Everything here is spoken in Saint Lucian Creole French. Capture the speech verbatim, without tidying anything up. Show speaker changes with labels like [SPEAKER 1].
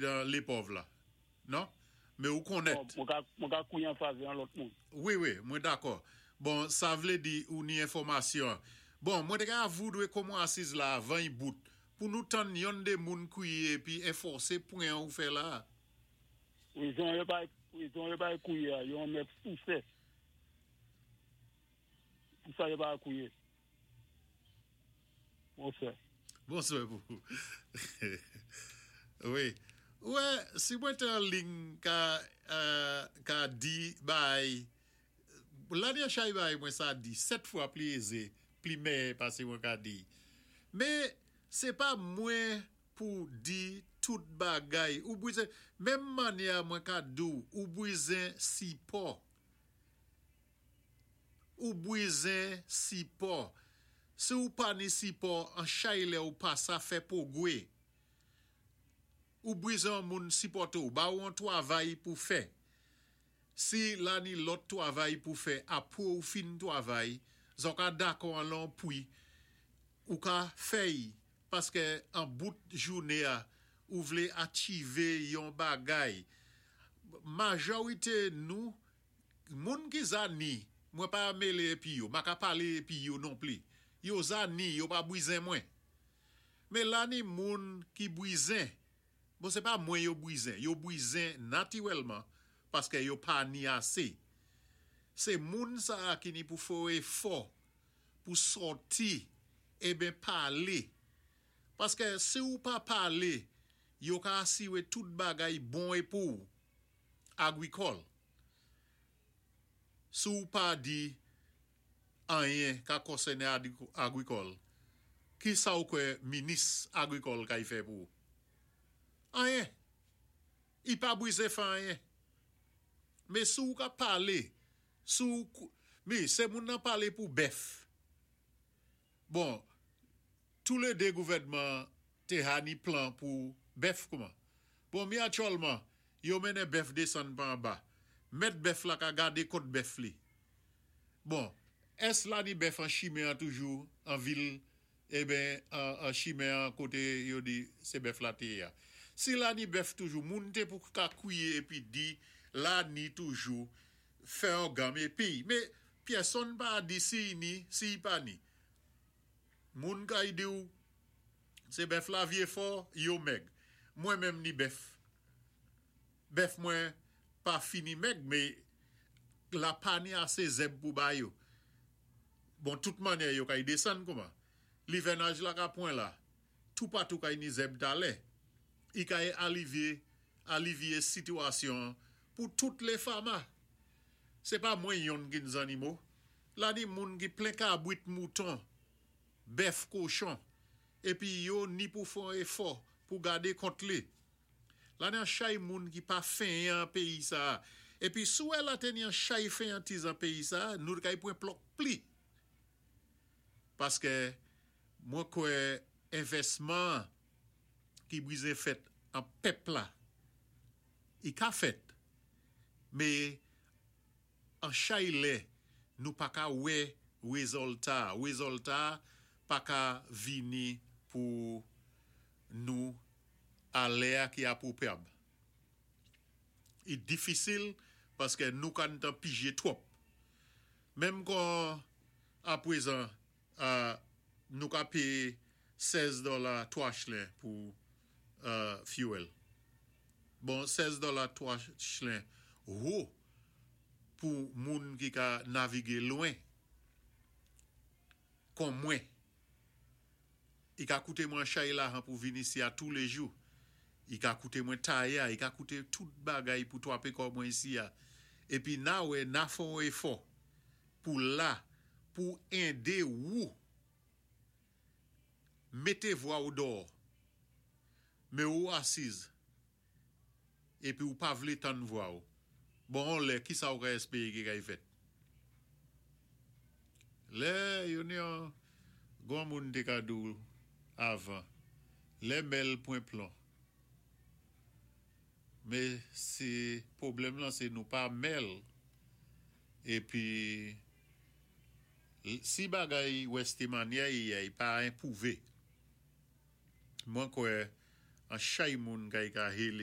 [SPEAKER 1] dan lépòv la. Non? Mé ou konnèt.
[SPEAKER 2] Mwen ka, mwen ka kwié an favè an lòt moun.
[SPEAKER 1] Wi, wi, mwen dakò. Bon, sa vlé di ou ni enfòmasyon. Bon, mwen té ka voudwé kòman asiz la avan y bout pou nou tann yonn dé moun kwié épi enfòsé pwen ou fè la.
[SPEAKER 2] Wézon yo pa, wézon yo pa kwié, yo mèt pousé. Pou sa yo pa kwié. Bonswa.
[SPEAKER 1] Bonswa pou. Wi. Wè, si mwen té an liy ka, euh, ka di bay, la ni chay bay mwen sa di, sèt fwa pli ézé, pli mèyè pasé mwen ka di. Mé sé pa mwen pou di tout bagay. Ou bwizen, menm mannyè mwen ka di ou, ou bwizen sipò. Ou bwizen sipò. Si ou pa ni sipò, an chay lè ou pa sa fè pwogwé. Ou bwizen moun sipòté ou, ba ou an twavay pou fè. Si la ni lòt twavay pou fè, apwé ou fin twavay, zòt ka dakò an lon pwi, ou ka fè'y, paské an bout jouné a, ou vlé achivé yon bagay. Majorité nou, moun ki za ni, mwen pa mélé épi yo, ma ka palé épi yo non pli. Yo za ni, yo pa bwizen mwen. Mé la ni moun ki bwizen, bon sé pa mwen yo bwizen, yo bwizen natirèlman, paské yo pa ni asé. Sé moun sa ki ni pou fè éfò, pou sòti, eben palé. Paské si ou pa palé, yo ka asiwé tout bagay bon é pou agwikòl. Si ou pa di anyen ka konsèné agwikòl, ki sa ou kwè minis agwikòl kay fè pou? Anyen. I pa bwizen fè anyen. Mé si ou ka palé, si ou, mé sé moun nan palé pou bèf. Bon, tou lé dé gouvèdman té ha ni plan pou bèf kouman. Bon, mi aktyèlman, yo mennen bèf désann pa anba. Mèt bèf la ka gadé kot bèf li. Bon, ès la ni bèf an chimen an toujou, an vil, eben, an, an chimen an koté yo di sé bèf la té ya. Si la ni bèf toujou, moun té pou ka kwié épi di, la ni toujou, fè an gam épi. Mé pyèsonn pa di si y ni, si y pa ni. Moun kay di ou, sé bèf la vyé fò, yo mèg. Mwen menm ni bèf. Bèf mwen pa fini mèg, mé la pa ni asé zèb pou ba yo. Bon, tout mannyè yo kay désann kouman. Livènaj la ka pwan la. Tou patou kay ni zèb talè. I kay alivyé, alivyé sitiyasyon pou tout lé fama. Sé pa mwen yonn ki ni zannimo. La ni moun ki plen kabwit mouton, bèf kochon, épi yo ni pou fè éfò pou gadé kont li. La ni an chay moun ki pa fenyan péyi sa. Épi sou la té ni an chay fenyantiz an péyi sa, nou kay pwan plòk pli. Paské mwen kwè envèsman ki bwizen fèt an pèp la, i ka fèt. Mé an chay lè, nou pa ka wè wézilta. Wézilta pa ka vini pou nou a lè a ki apwopwéab. I difisil paské nou ka tan pijé twòp. Menm kon apwézan euh, nou ka péyé sèz dola twa chlen pou euh, fuel. Bon, sèz dola twa chlen, wo pou moun ki ka navigé lwen kon mwen. I ka kouté mwen chay lajan pou vini isi a tou lé jou. I ka kouté mwen taya, i ka kouté tout bagay pou twapé kò mwen isi a. Épi na wè, na fon éfò pou la, pou édé ou mété vwa ou dò. Mé ou asiz. Épi ou pa vlé tann vwa ou. Bon, lè, ki sa ou ka espéwé ki kay fèt? Lè, yo ni an, gwan moun té ka di ou avan. Lè mèl pwan plon. Mé sé pwoblèm lan sé nou pa mèl. Épi si bagay wèsté mannyè y pa enpwouvé. Mwen kwè an chay moun kay ka hélé